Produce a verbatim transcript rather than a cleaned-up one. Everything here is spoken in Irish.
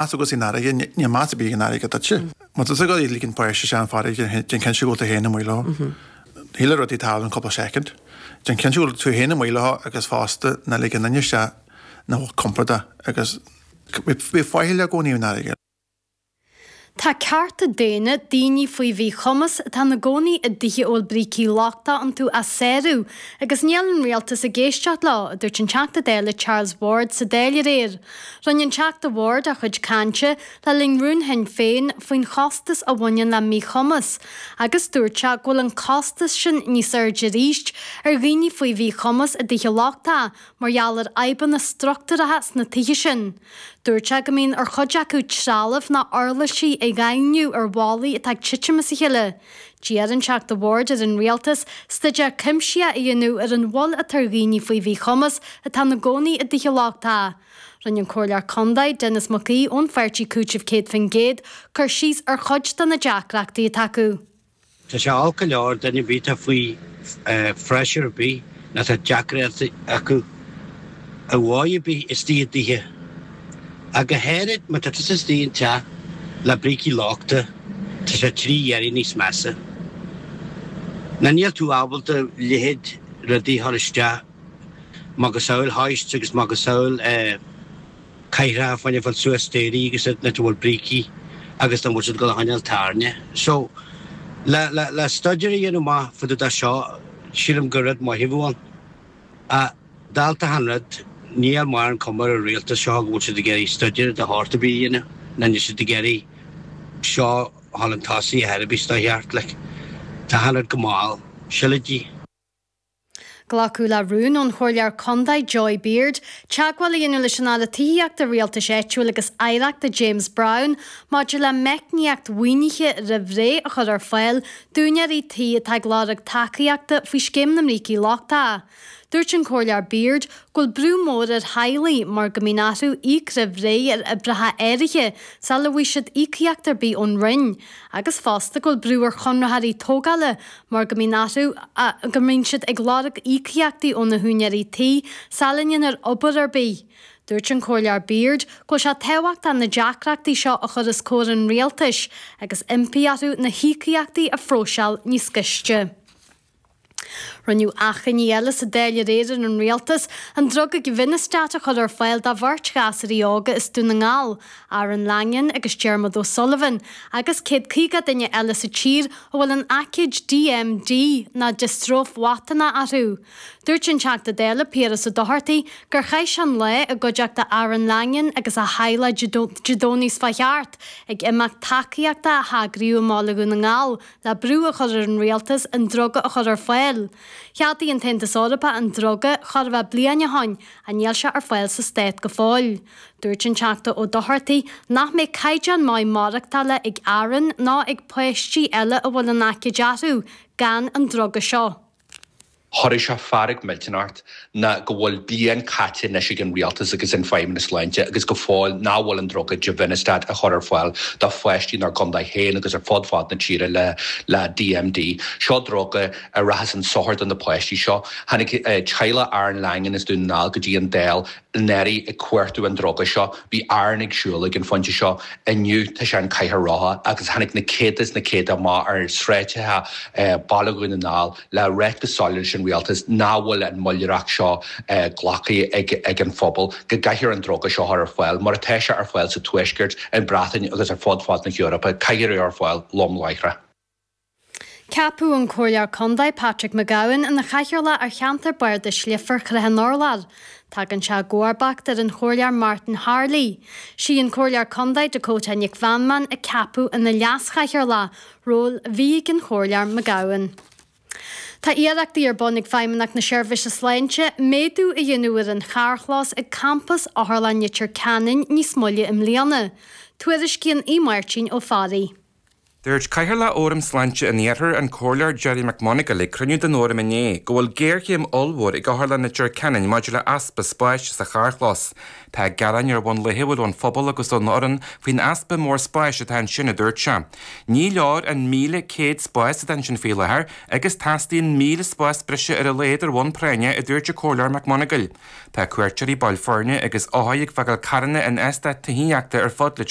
Meas agat san fharraige, níl meas ar bith ag an fharraige duitse. Má tá tú ag dul ag ligean páiste isteach an farraige, déan cinnte go bhfuil tú féin amuigh leo. Níl rudaí tarlú in cúpla soicind. Déan cinnte go bhfuil tú féin amuigh leo agus fosta ná lig aon duine isteach nach bhfuil compordach agus bí faichilleach i gcónaí an fharraige. Tá cearta daonna daoine faoi mhíchumas atá ina gcónaí i dtithe a bhfuil brící lochtacha iontu á sárú agus níl an rialtas ag éisteacht leo, a dúirt an Teachta Dála Charles Ward sa Dáil aréir. Rinne an Teachta Ward a chuid cainte le linn rún Shinn Féin faoin chostas a bhaineann le míchumas agus dúirt sé go bhfuil an costas sin níos airde arís ar dhaoine faoi mhíchumas i dtithe lochtacha mar gheall ar fhadhbanna struchtúracha sna tithe sin. Dúirt sé go mbíonn ar chuid acu trealamh ná uirlisí a dhaingniú ar bhallaí atá ag titim as a chéile. D'iarr an Teachta Ward ar an rialtas staidéar cuimsitheach a dhéanamh ar an mhoill atá ar dhaoine faoi mhíchumas atá ina gcónaí i dtithe lochtacha. Rinne an Comhairleoir Contae, Denis Mac Aoidh ón pháirtí Cúiteamh Céad Faoin gCéad, cur síos ar chuid de na deacrachtaí atá acu. Tá sé olc go leor duine ar bith atá faoi phressure ar bith nó tá deacrachtaí acu ar dhóigh ar bith istigh i dtithe. Ach go háirid má tá tusa istigh in teach le brící lochta, tá sé trí oiread níos measa. Nó níl tú ábalta leithéid rudaí a chur isteach macasamhail hoist agus macasamhail cathaoireacha fá choinne fáil suas staighrí agus iad nuair a bhfuil brící agus nach bhfuil siad ag dul a choinneáil tairne. So, le, le, le staidéar a dhéanamh amach fá dtaobh de seo, sílim gur rud maith a bheadh ann. Ach, dálta achan rud, níl mórán cuma ar an rialtas seo go bhfuil siad ag iarraidh staidéar de shórt ar bith a dhéanamh, ná níl siad ag iarraidh seo a dhul chun tosaigh ar chor ar bith is dá cheart, like. Tá achan rud go mall. Sileidí. Glacadh le rún ón Chomhairleoir Contae Joy Beard teagmháil a dhéanamh leis an Aire Tithíochta, Rialtais Áitiúil agus Oidhreachta James Browne maidir le meicníocht mhaoinithe roimh ré a chur ar fáil d'úinéirí tí atá ag lorg tacaíochta faoi Scéim na mBrící Lochtacha. Dúirt an Comhairleoir Beard go bhfuil brú mór ar theaghlaigh mar go mbíonn orthu íoc roimh ré ar oibreacha áirithe sula bhfaighidh siad íocaíocht ar bith ón Roinn agus fosta go bhfuil brú ar chonraitheoirí tógála mar go mbíonn orthu go mbíonn siad ag lorg íocaíochtaí ó na húinéirí tí sula ndéanfar obair ar bith. Dúirt an Comhairleoir Beard go bhfuil sé tábhachtach na deacrachtaí seo a chur os comhair an rialtais agus impí orthu na híocaíochtaí a phróiseáil níos gaiste. Rinneadh achainí eile sa Dáil aréir ar an Rialtas an druga Givinostat a chur ar fáil do bheirt ghasúraí óga as Dún na nGall, Aaron Langan agus Diarmuid O'Sullivan, agus céad caoga duine eile sa tír a bhfuil an aicíd DMD nó diostróif mhatonach orthu. Dúirt an Teachta Dála Piaras Ó Dochartaigh gur chaith sé an lá i gcuideachta Aaron Langan agus a theaghlach Dé Domhnaigh seo chuaigh thart ag imeacht tacaíochta a heagraíodh i mBaile Dhún na nGall le brú a chur ar an rialtas an druga a chur ar fáil. Cheadaigh an tAontas Eorpach an druga chóir a bheith bliain ó shin ach níl sé ar fáil sa stát go fóill. Dúirt an Teachta Ó Dochartaigh nach mbeidh caighdeán maith maireachtála ag Aaron ná ag páistí eile a bhfuil an aicíd orthu gan an druga seo. Chuirfeadh sé fearg millteanach ort ná go bhfuil bliain caite anois ag an rialtas agus an Feidhmeannas Sláinte agus go fóill nach bhfuil an druga Givinostat á chur ar fáil do pháistí inár gcontae féin agus ar fud fad na tíre le le DMD. Seo druga a rachas chun sochair do na páistí seo. Tháinig teaghlach Aaron Langan as Dún na nGall go dtí an Dáil anuraidh ag cuartú an druga seo. Bhí Aaron ag siúl ag an phointe seo. Inniu tá sé an cathair rotha agus tháinig na céadta is na céadta amach ar sráideacha Baile Dhún na nGall le ráit go soiléir leis an rialtas nach bhfuil an mhoilleoireacht seo glactha ag an phobal, go gcaithfear an druga seo a chur ar fáil, mar atá sé ar fáil sa Tuaisceart, an Bhreatain agus ar fud fad na hEorpa, caithfear é a chur ar fáil lom láithreach. Ceapadh an Comhairleoir Contae Patrick McGowan ina chathaoirleach ar cheantar Bardais Leifear Chnoc an Urláir. Tagann sé i gcomharbacht ar an Chomhairleoir Martin Harley. Sí an Comhairleoir Contae Dakota Nic Mheanman a ceapadh ina leaschathaoirleach, ról a bhí ag an Chomhairleoir McGowan. Tá iarrachtaí ar bun ag Feidhmeannacht na Seirbhíse Sláinte méadú a dhéanamh ar an charrchlós ag campas Otharlann Leitir Ceanainn níos moille i mbliana. Tuairiscíonn Aodh Máirtín Ó Fearraigh. Dúirt Cathaoirleach Fhóram Sláinte an Iarthair an Comhairleoir Gerry McMonagall ag cruinniú den fhóram inné go bhfuil géarchéim ollmhór ag Otharlann Leitir Ceanainn maidir le easpa spáis sa charrchlós. Tá gearáin ar bhonn laethúil ón phobal agus ón fhoireann faoin easpa mór spáis atá ansin a dúirt sé. Ní leor an míle céad spás atá ansin faoi láthair agus teastaíonn míle spás breise ar a laghad ar bhonn práinne a dúirt an Comhairleoir McMonagall. Tá cuairteoirí baill foirne agus othair ag fágáil carranna in eastáit tithíochta ar fud Leitir